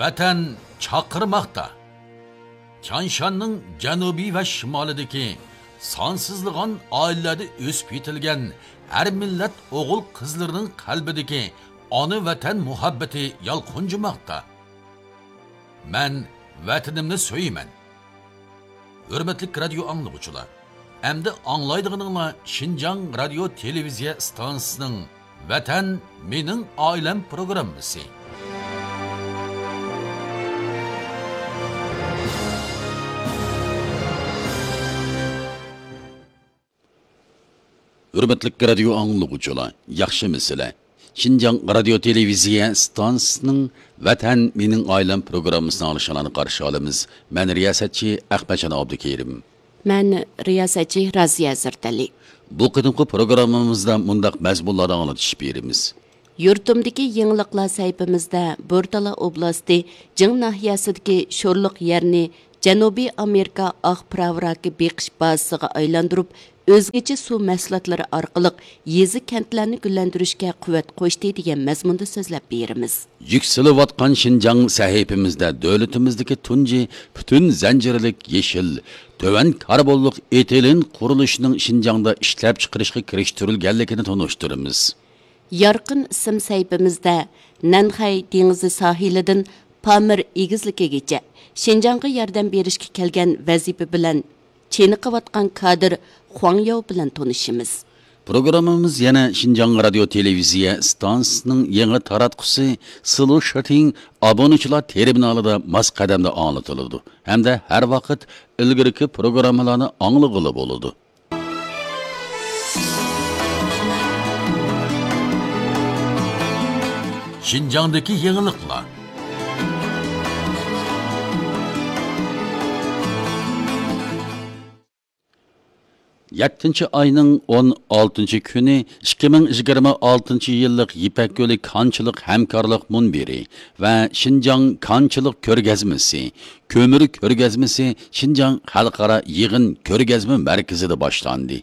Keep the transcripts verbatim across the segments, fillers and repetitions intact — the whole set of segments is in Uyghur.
ۋەتەن چاقىرماقتا. تيانشاننىڭ جەنۇبى ۋە شىمالىدىكى سانسىزلىغان ئائىلىلەردە ئۆسۈپ يېتىلگەن ھەر مىللەت ئوغۇل-قىزلىرىنىڭ قەلبىدىكى ئانا ۋەتەن مۇھەببىتى يالقۇنجىماقتا. مەن ۋەتىنىمنى سۆيىمەن. ھۆرمەتلىك رادىيو ئاڭلىغۇچىلار، ئەمدى ئاڭلايدىغىنىڭلار شىنجاڭ رادىيو تېلېۋىزىيە ئىستانسىسىنىڭ ۋەتەن مېنىڭ ئائىلەم پروگراممىسى. ھۆرمەتلىك رادىيو ئاڭلىغۇچىلار، ياخشىمۇسىلەر؟ شىنجاڭ رادىيو تېلېۋىزىيە ئىستانسىسىنىڭ ۋەتەن مېنىڭ ئائىلەم پروگراممىسىنى ئاڭلىشىڭلارنى قارشى ئالىمىز. مەن رىياسەتچى ئەخمەتجان ئابدۇكېرىم. مەن رىياسەتچى رازىيە زەردەلى. بۇ قېتىمقى پروگراممىمىزدا مۇنداق مەزمۇنلاردا ئاڭلىتىش بېرىمىز. يۇرتۇمدىكى يېڭىلىقلار سەھىپىمىزدە بورتالا ئوبلاستى جىڭ ناھىيەسىدىكى شورلۇق يەرنى جەنۇبىي ئامېرىكا ئاق پىراۋراكى بېقىش بازىسىغا ئايلاندۇرۇپ، ئۆزگىچە سۇ مەھسۇلاتلىرى ئارقىلىق يېزا، كەنتلەرنى گۈللەندۈرۈشكە قۇۋۋەت قوشتى دېگەن مەزمۇندا سۆزلەپ بېرىمىز. يۈكسىلىۋاتقان شىنجاڭ سەھىپىمىزدە دۆلىتىمىزدىكى تۇنجى پۈتۈن زەنجىرلىك يېشىل، تۆۋەن كاربونلۇق ئېتىلېن قۇرۇلۇشىنىڭ شىنجاڭدا ئىشلەپچىقىرىشقا كىرىشتۈرۈلگەنلىكىنى تونۇشتۇرىمىز. يارقىن ئىسىم سەھىپىمىزدە نەنخەي دېڭىزى ساھىلىدىن پامىر ئېگىزلىكىگىچە شىنجاڭغا ياردەم بېرىشكە كەلگەن ۋەزىپە بىلەن چېنىقىۋاتقان كادىر خۇاڭ ياۋ بىلەن تونۇشىمىز. پروگراممىمىز يەنە شىنجاڭ رادىيو تېلېۋىزىيە ئىستانسىسىنىڭ يېڭى تاراتقۇسى سىلۇ شىتىڭ ئابۇنىچىلار تېرمىنالىدا ماس قەدەمدە ئاڭلىتىلىدۇ ھەمدە ھەر ۋاقىت ئىلگىرىكى پروگراممىلارنى ئاڭلىغىلى بولىدۇ. شىنجاڭدىكى يېڭىلىقلار. يەتتىنچى ئاينىڭ ئون ئالتىنچى كۈنى ئىككى مىڭ يىگىرمە ئالتىنچى يىللىق يىپەك يولى كانچىلىق ھەمكارلىق مۇنبىرى ۋە شىنجاڭ كانچىلىق كۆرگەزمىسى، كۆمۈر كۆرگەزمىسى شىنجاڭ خەلقئارا يىغىن كۆرگەزمە مەركىزىدە باشلاندى.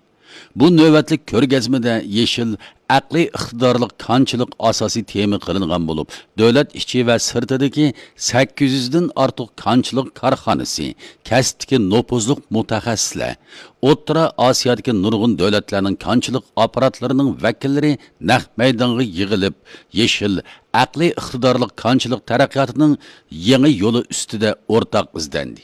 بۇ نۆۋەتلىك كۆرگەزمىدە يېشىل، ئەقلىي ئىقتىدارلىق كانچىلىق ئاساسىي تېما قىلىنغان بولۇپ، دۆلەت ئىچى ۋە سىرتىدىكى سەككىز يۈزدىن ئارتۇق كانچىلىق كارخانىسى، كەسىپتىكى نوپۇزلۇق مۇتەخەسسىسلەر، ئوتتۇرا ئاسىيادىكى نۇرغۇن دۆلەتلەرنىڭ كانچىلىق ئاپپاراتلىرىنىڭ ۋەكىللىرى نەق مەيدانغا يىغىلىپ، يېشىل، ئەقلىي ئىقتىدارلىق كانچىلىق تەرەققىياتىنىڭ يېڭى يولى ئۈستىدە ئورتاق ئىزدەندى.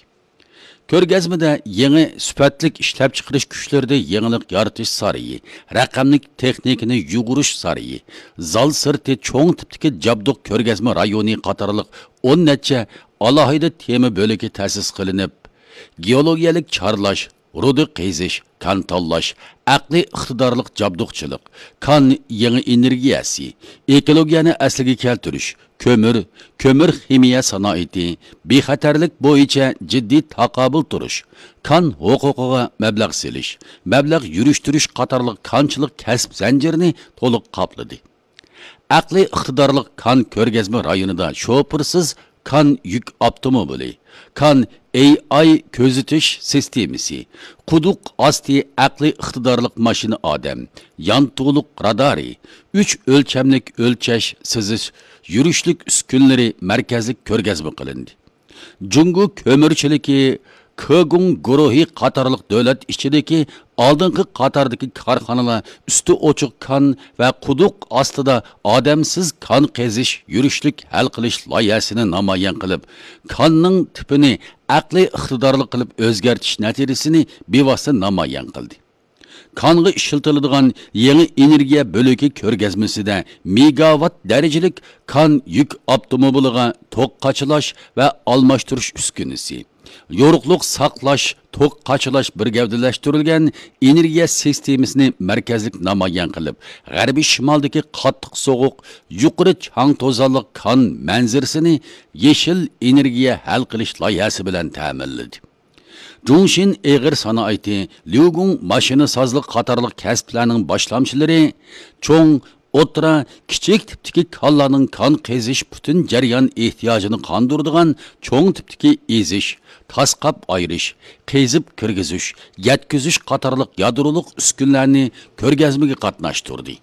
كۆرگەزمىدە يېڭى سۈپەتلىك ئىشلەپچىقىرىش كۈچلىرىدە يېڭىلىق يارىتىش سارىيى، رەقەملىك تېخنىكىنى يۇغۇرۇش سارىيى، زال سىرتى چوڭ تىپتىكى جابدۇق كۆرگەزمە رايونى قاتارلىق ئون نەچچە ئالاھىدە تېما بۆلىكى تەسىس قىلىنىپ، گېئولوگىيەلىك چارلاش، رۇدا قېزىش، كان تاللاش، ئەقلىي ئىقتىدارلىق جابدۇقچىلىق، كان يېڭى ئېنېرگىيەسى، ئېكولوگىيەنى ئەسلىگە كەلتۈرۈش، كۆمۈر، كۆمۈر خىمىيە سانائىتى، بىخەتەرلىك بويىچە جىددىي تاقابىل تۇرۇش، كان ھوقۇقىغا مەبلەغ سېلىش، مەبلەغ يۈرۈشتۈرۈش قاتارلىق كانچىلىق كەسىپ زەنجىرىنى تولۇق قاپلىدى. ئەقلىي ئىقتىدارلىق كان كۆرگەزمە رايونىدا شوپۇرسىز كان يۈك ئاپتوموبىلى، كان ئېي ئاي كۆزىتىش سىستېمىسى، قۇدۇق ئاستى ئەقلىي ئىقتىدارلىق ماشىنا ئادەم، يانتۇلۇق رادارى، ئۈچ ئۆلچەملىك ئۆلچەش سىزىش يۈرۈشلۈك ئۈسكۈنىلىرى مەركەزلىك كۆرگەزمە قىلىندى. جۇڭگو كۆمۈرچىلىكى، كېگۇڭ گۇرۇھى قاتارلىق دۆلەت ئىچىدىكى ئالدىنقى قاتاردىكى كارخانىلار ئۈستى ئوچۇق كان ۋە قۇدۇق ئاستىدا ئادەمسىز كان قېزىش يۈرۈشلۈك ھەل قىلىش لايىھەسىنى نامايان قىلىپ، كاننىڭ تىپىنى ئەقلىي ئىقتىدارلىق قىلىپ ئۆزگەرتىش نەتىجىسىنى بىۋاسىتە نامايان قىلدى. كانغا ئىشلىتىلىدىغان يېڭى ئېنېرگىيە بۆلىكى كۆرگەزمىسىدە مېگاۋات دەرىجىلىك كان يۈك ئاپتوموبىلىغا توك قاچىلاش ۋە ئالماشتۇرۇش ئۈسكۈنىسى، يورۇقلۇق ساقلاش، توك قاچىلاش بىر گەۋدىلەشتۈرۈلگەن ئېنېرگىيە سىستېمىسىنى مەركەزلىك نامايان قىلىپ، غەربىي شىمالدىكى قاتتىق سوغۇق، يۇقىرى چاڭ توزانلىق كان مەنزىرىسىنى يېشىل ئېنېرگىيە ھەل قىلىش لايىھەسى بىلەن تەمىنلىدى. جۇڭشىن ئېغىر سانائىتى، ليۇگۇڭ ماشىنىسازلىق قاتارلىق كەسىپلەرنىڭ باشلامچىلىرى چوڭ، ئوتتۇرا، كىچىك تىپتىكى كانلارنىڭ كان قېزىش پۈتۈن جەريان ئېھتىياجىنى قاندۇرىدىغان چوڭ تىپتىكى ئېزىش، تاسقاپ ئايرىش، قېزىپ كىرگۈزۈش، يەتكۈزۈش قاتارلىق يادرولۇق ئۈسكۈنىلەرنى كۆرگەزمىگە قاتناشتۇردى.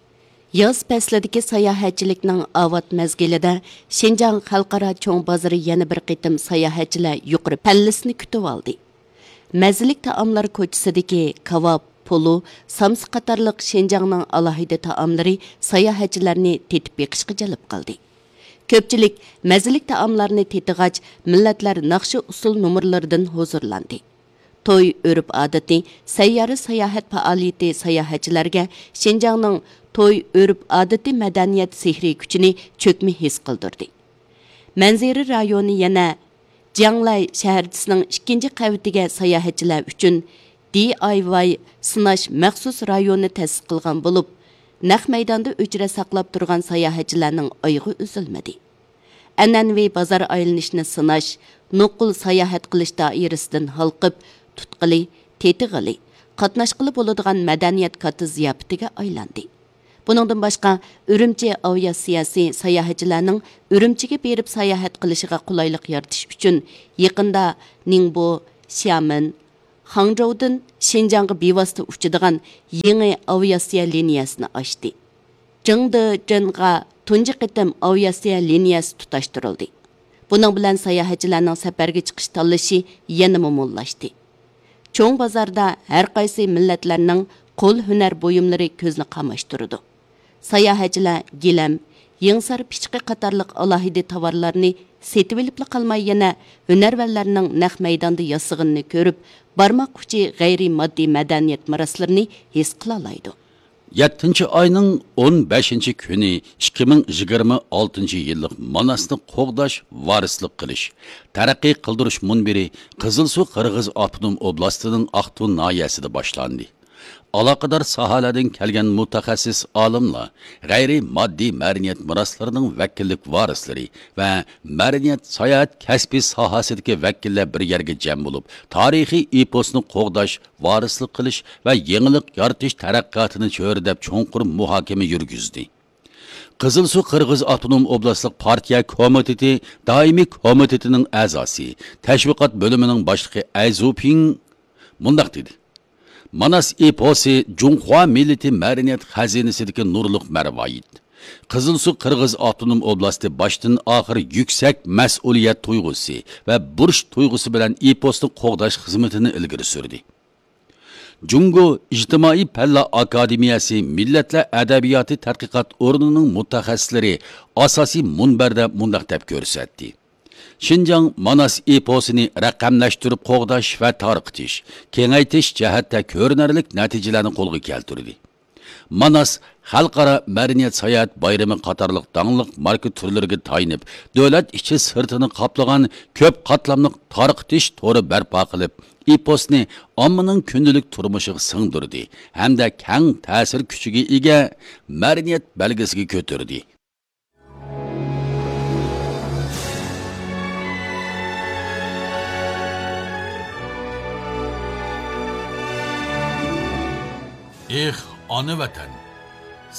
ياز پەسلىدىكى ساياھەتچىلىكنىڭ ئاۋات مەزگىلىدە شىنجاڭ خەلقئارا چوڭ بازىرى يەنە بىر قېتىم ساياھەتچىلەر يۇقىرى پەللىسىنى كۈتۈۋالدى. مەززىلىك تائاملار كوچىسىدىكى كاۋاپ، پولۇ، سامسا قاتارلىق شىنجاڭنىڭ ئالاھىدە تائاملىرى ساياھەتچىلەرنى تېتىپ بېقىشقا جەلپ قىلدى. كۆپچىلىك مەززىلىك تائاملارنى تېتىغاچ، مىللەتلەر ناخشا-ئۇسسۇل نومۇرلىرىدىن ھۇزۇرلاندى. توي ئۆرپ-ئادىتى، سەييارە ساياھەت پائالىيىتى ساياھەتچىلەرگە شىنجاڭنىڭ توي ئۆرپ-ئادىتى مەدەنىيەت سېھرىي كۈچىنى چۆكمە ھېس قىلدۇردى. مەنزىرە رايونى يەنە جياڭلاي شەھەرچىسىنىڭ ئىككىنچى قەۋىتىگە ساياھەتچىلەر ئۈچۈن دى ئاي ۋاي سىناش مەخسۇس رايونى تەسىس قىلغان بولۇپ، نەق مەيداندا ئۆچرەت ساقلاپ تۇرغان ساياھەتچىلەرنىڭ ئايىغى ئۈزۈلمىدى. ئەنئەنىۋى بازار ئايلىنىشنى سىناش، نوقۇل ساياھەت قىلىش دائىرىسىدىن ھالقىپ، تۇتقىلى، تېتىغىلى، قاتناشقىلى بولىدىغان مەدەنىيەت كاتتا زىياپىتىگە ئايلاندى. بۇنىڭدىن باشقا، ئۈرۈمچى ئاۋىئاتسىيەسى ساياھەتچىلەرنىڭ ئۈرۈمچىگە بېرىپ ساياھەت قىلىشىغا قولايلىق يارىتىش ئۈچۈن، يېقىندا نىڭبو، شيامېن، خاڭجوۋدىن شىنجاڭغا بىۋاسىتە ئۇچىدىغان يېڭى ئاۋىئاتسىيە لىنىيەسىنى ئاچتى. جېڭدېجېنغا تۇنجى قېتىم ئاۋىئاتسىيە لىنىيەسى تۇتاشتۇرۇلدى. بۇنىڭ بىلەن ساياھەتچىلەرنىڭ سەپەرگە چىقىش تاللىشى يەنىمۇ موللاشتى. چوڭ بازاردا ھەر قايسى مىللەتلەرنىڭ قول ھۈنەر بۇيۇملىرى كۆزنى قاماشتۇرىدۇ. ساياھەتچىلەر گىلەم، يېڭىسار پىچىقى قاتارلىق ئالاھىدە تاۋارلارنى سېتىۋېلىپلا قالماي، يەنە ھۈنەرۋەنلەرنىڭ نەق مەيداندا ياسىغىنىنى كۆرۈپ، بارماق ئۇچى غەيرىي ماددىي مەدەنىيەت مىراسلىرىنى ھېس قىلالايدۇ. يەتتىنچى ئاينىڭ ئون بەشىنچى كۈنى ئىككى مىڭ يىگىرمە ئالتىنچى يىللىق ماناسنى قوغداش ۋارىسلىق قىلىش، تەرەققىي قىلدۇرۇش مۇنبىرى قىزىلسۇ قىرغىز ئاپتونوم ئوبلاستىنىڭ ئاقتۇ ناھىيەسىدە باشلاندى. ئالاقىدار ساھەلەردىن كەلگەن مۇتەخەسسىس ئالىملار، غەيرىي ماددىي مەدەنىيەت مىراسلىرىنىڭ ۋەكىللىك ۋارىسلىرى ۋە مەدەنىيەت ساياھەت كەسپى ساھەسىدىكى ۋەكىللەر بىر يەرگە جەم بولۇپ، تارىخىي ئېپوسنى قوغداش، ۋارىسلىق قىلىش ۋە يېڭىلىق يارىتىش تەرەققىياتىنى چۆرىدەپ چوڭقۇر مۇھاكىمە يۈرگۈزدى. قىزىلسۇ قىرغىز ئاپتونوم ئوبلاستلىق پارتىيە كومىتېتى دائىمىي كومىتېتىنىڭ ئەزاسى، تەشۋىقات بۆلۈمىنىڭ باشلىقى ئەي زۇپىڭ مۇنداق دېدى: ماناس ئېپوسى جۇڭخۇا مىللىتى مەدەنىيەت خەزىنىسىدىكى نۇرلۇق مەرۋايىت. قىزىلسۇ قىرغىز ئاپتونوم ئوبلاستى باشتىن ئاخىر يۈكسەك مەسئۇلىيەت تۇيغۇسى ۋە بۇرچ تۇيغۇسى بىلەن ئېپوسنى قوغداش خىزمىتىنى ئىلگىرى سۈردى. جۇڭگو ئىجتىمائىي پەنلەر ئاكادېمىيەسى مىللەتلەر ئەدەبىياتى تەتقىقات ئورنىنىڭ مۇتەخەسسىسلىرى ئاساسىي مۇنبەردە مۇنداق دەپ كۆرسەتتى: شىنجاڭ ماناس ئېپوسىنى رەقەملەشتۈرۈپ قوغداش ۋە تارقىتىش، كېڭەيتىش جەھەتتە كۆرۈنەرلىك نەتىجىلەرنى قولغا كەلتۈردى. ماناس خەلقئارا مەدەنىيەت ساياھەت بايرىمى قاتارلىق داڭلىق ماركا تۈرلىرىگە تايىنىپ، دۆلەت ئىچى سىرتىنى قاپلىغان كۆپ قاتلاملىق تارقىتىش تورى بەرپا قىلىپ، ئېپوسنى ئاممىنىڭ كۈندىلىك تۇرمۇشىغا سىڭدۈردى ھەمدە كەڭ تەسىر كۈچىگە ئىگە مەدەنىيەت بەلگىسىگە كۆتۈردى. ئېھ، ئانا ۋەتەن!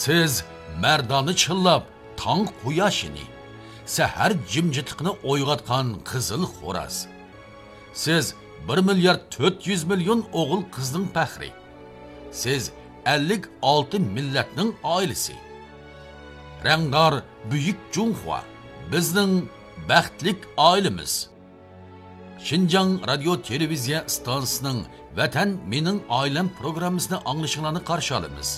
سىز مەردانە چىللاپ تاڭ قۇياشىنى، سەھەر جىمجىتلىقىنى ئويغاتقان قىزىل خوراز. سىز بىر مىليارد تۆت يۈز مىليون ئوغۇل قىزنىڭ پەخرى. سىز ئەللىك ئالتە مىللەتنىڭ ئائىلىسى. رەڭدار بۈيۈك جۇڭخۇا، بىزنىڭ بەختلىك ئائىلىمىز. شىنجاڭ رادىيو تېلېۋىزىيە ئىستانسىسىنىڭ ۋەتەن مېنىڭ ئائىلەم پروگراممىسىنى ئاڭلىشىڭلارنى قارشى ئالىمىز.